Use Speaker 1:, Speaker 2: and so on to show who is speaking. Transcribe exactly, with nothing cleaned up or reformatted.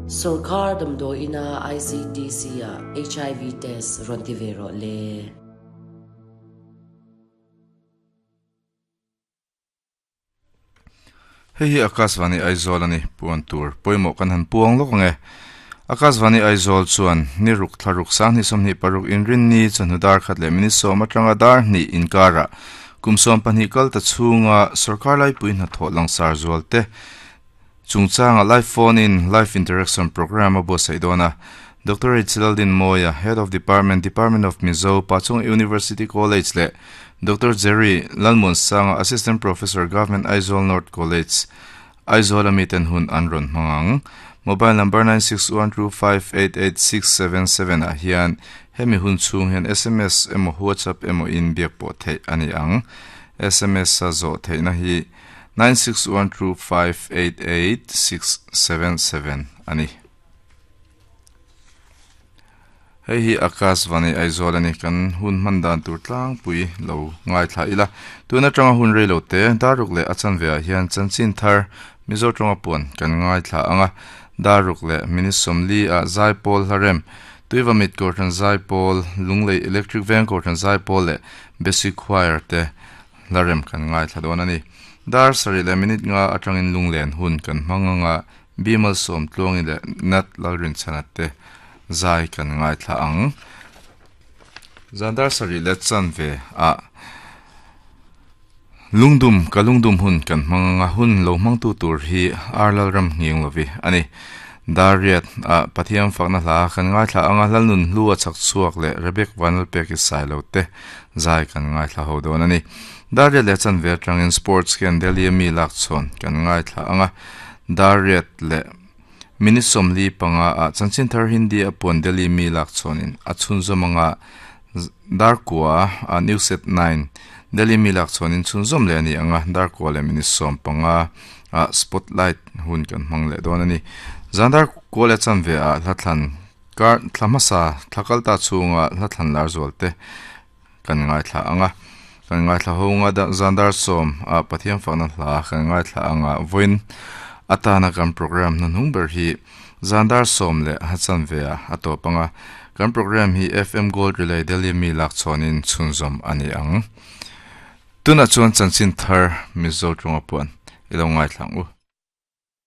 Speaker 1: Sarkar damdawi ina I C T C a H I V test rawn ti ve rawh le.
Speaker 2: Hei hi Akashvani Aizawl ani. Puan tur pawimawh kan han puang lawk ange. Akashvani Aizawl chuan ni ruk thla ruk sang hnih sawmhnih paruk inrin ni chawhnu dar khat leh minute sawm atanga dar hnih inkara kum sawm pahnih kal ta chhunga sarkar laipui hnathawh langsar zual te chungchanga live phone in live interaction program a buatsaih dawn a. Doctor H Laldin Mawia, Head of Department, Department of Mizo, Pachung University College leh Doctor Jerry Lalmuansanga, Assistant Professor, Government Aizawl North College, Aizawl ami ten hun an rawn hmang ang. Mobile number nine six one two five eight eight six seven seven ah hian hemi hun chhung hian S M S emaw WhatsApp emaw in biak pawh theih a ni ang. S M S a zawh theihna hi nine six one two five eight eight six seven seven a ni. Hei hi Akashvani Aizawl a ni. Kan hun hman dan tur tlangpui lo ngaithla ila. Tun atanga hun rei lo te daruk leh a chanve ah hian chanchin thar Mizo tawnga puan kan ngaithla anga. Daruk leh minute sawmli ah Zaipawl hlarem Tuivamit Kohhran Zaipawl, Lunglei Electric Veng Kohhran Zaipawl leh Basic Choir te hlarem kan ngaithla dawn a ni. Dar sarih leh minute nga atangin lunglen hun kan hmang anga. Bimal sawm tluangi leh Nat Lalrinchhana te zai kan ngaithla ang. Zan dar sarih leh chanve ah lungdum ka lungdum hun kan hmang anga. Hun lo hmangtu tur hi Arlal ram nghing lovi ani. Dar riat a Pathian fakna hla kan ngaithla anga. Hlalnun hlu a chak chhuak leh Rebek Vanal pek i sai lo te zai kan ngaithla ho dawn ani. Dar riat leh chanve atangin sports ken Delhi mi lak chhawn kan ngaithla anga. Dar riat leh minute sawmli panga a chanchin thar Hindi a puan Delhi mi lak chhawnin a chhunzawm anga. Dar kua a news at nine Delhi mi lak chhawnin chhunzawm leh ani anga. Dar kua leh minute sawm panga a spotlight hun kan hmang leh dawn ani. Zandar kua leh chanve a hlathlan kar thlamasa thlakal ta chhunga hlathlan lar zual te kan ngaithla anga kan ngaithla ho nga. Zandar sawm a Pathian fakna hla kan ngaithla anga. Voin atana kan program hnuhnung ber hi zandar sawm leh a chanve a a tawp anga. Kan program hi F M Gold Relay Delhi mi lak chhawnin chhunzawm ani ang. Tuna chuan chanchin thar Mizo tawnga puan ilo ngaithla ang u.